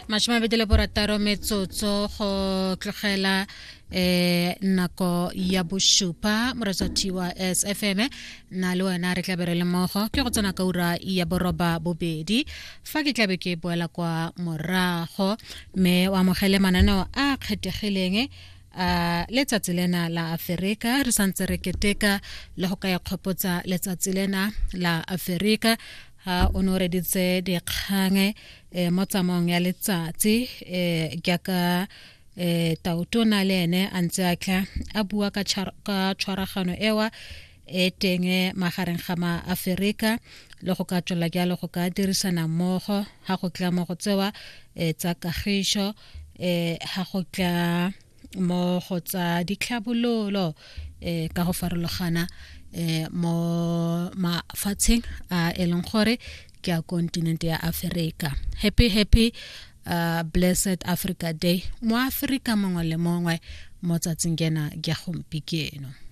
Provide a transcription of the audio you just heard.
26 metsotso go tlogela eh nako ya bosupa moresati wa sfm na le wena re tlabe re le mmogo ke go tsena ka ura ya boroba bobedi fa ke tlabe ke boela kwa morago mme o amogele mananeo a kgethegileng a letsatsi lena la aferika re santse re keteka le go ka ikgopotsa letsatsi lena la aferika ha o ne o reditse dikgang eh, mo tsamaong ya letsatsi eh, jaaka eh, tautona le ene a ntse a tla a bua ka tshwaragano ewa e teng magareng ga maaferika le go ka tswela jalo go ka dirisana mmogo ga go tla mo go tsewa um tsa kagišo um ga go tla mo go tsa ditlhabololo um ka go farologana um mo mafatsheng a e leng gore ke a kontinente ya Aforika. Happy happy blessed Africa Day mo Aforika mongwe le mongwe mo tsatsing kena ke gompieno.